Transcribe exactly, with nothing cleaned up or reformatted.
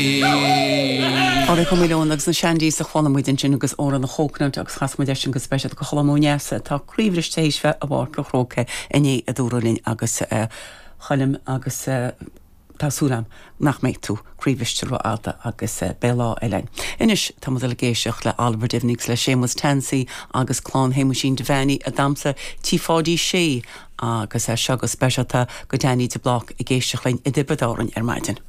Pádraig Ó Maoileoin agus na Shandies a chuala muid ansin agus Óró na Chóconut agus chas muid sin go speisialta do Cholm Ó Neasa tá croíbhriste théis bheith i bPáirc an Chrócaigh inné a dúradh linn agus uh, Choilm agus uh, tá súil agam nach mbeidh tú croíbhriste rófhada agus uh, beidh lá eile. Anois tá muid ag éisteacht le Oliver Devaney le Séamus Tansey agus clann Shéamuisín Devaney ag damhsa Tí Pháidí Sé agus é seo go speisialta go Danny de Blác ag éisteacht linn i dTiobraid Árann ar maidin.